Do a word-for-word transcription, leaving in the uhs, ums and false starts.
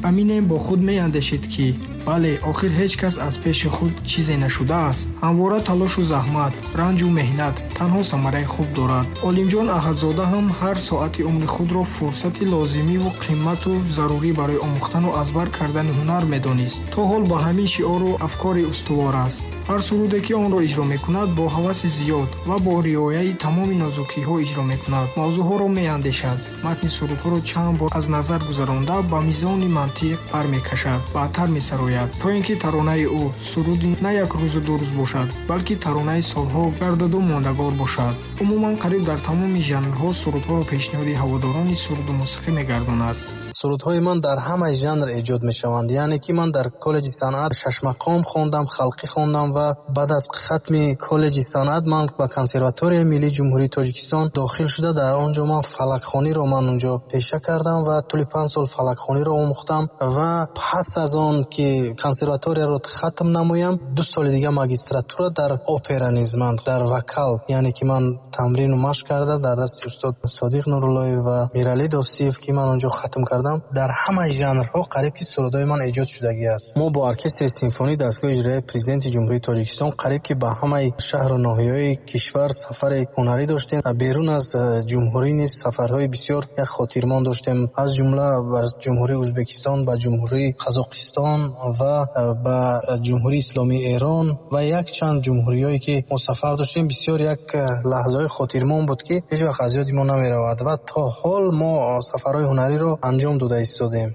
Аминем бо худ меандешид, ки бале, охир ҳеҷ кас аз пеши худ чизе нашудааст. Ҳамвора талошу заҳмат, ранҷу меҳнат танҳо самараи хуб дорад. Олимҷон Аҳадзода ҳам ҳар соати умри худро фурсати лозимиву қимату зарурӣ барои омӯхтану аз бар кардани ҳунар медонист. То ҳол ба ҳамин шиору афкори устувор аст. Ҳар суруде, ки онро иҷро мекунад, бо ҳаваси зиёд ва бо риояи тамоми нозукиҳо иҷро мекунад. Мавзӯъҳоро меандешад, матни сурудҳоро чанд бор аз назар гузаронда, ба мизони мантиқ бармекашад, баъдтар месарояд, то ин ки таронаи ӯ суруди на як рӯзу ду рӯз бошад, балки таронаи солҳо гардаду мондагор бошад. Умуман, қариб дар тамоми жанрҳо сурудҳоро пешниҳоди ҳаводорони суруду мусиқӣ мегардонад. Сурудҳои ман дар ҳамаи жанр эҷод мешаванд. Яъне ки ман дар коллеҷи санъат шашмақом хондам, халқӣ хондам ва баъд аз хатми коллеҷи санъат ман ба консерваторияи миллии Ҷумҳурии Тоҷикистон дохил шуда, дар он ҷо ман фалакхониро ман унҷо пеша кардам ва тӯли панҷ сол фалакхониро омӯхтам ва пас аз он ки консерваторияро хатм намоям, ду соли дига магистратура дар опера низ ман дар вокал, яъне ки ман тамрину машқ карда дар дасти устод Содиқ Нуруллоев ва Миралӣ Достиев, ки ман онҷо хатм кардам, дар ҳамаи жанрҳо қариб ки сурудҳои ман эҷод шудагӣ аст. Мо бо оркестри симфонии дастгоҳи иҷроияи Президенти Ҷумҳурии Тоҷикистон қариб ки ба ҳамаи шаҳру ноҳияҳои кишвар сафари ҳунарӣ доштем. Берун аз ҷумҳурӣ низ сафарҳои бисёр як хотирмон доштем, аз ҷумла ба Ҷумҳурии Ӯзбекистон, ба Ҷумҳурии Қазоқистон ва ба Ҷумҳурии Исломии Эрон ва якчанд ҷумҳуриҳое ки мо сафар доштем. Бисёр як лаҳзаҳои хотирмон буд, ки ҳеҷ вақт аз ёди мо намеравад ва то ҳол мо сафарҳои ҳунариро анҷом дода истодем.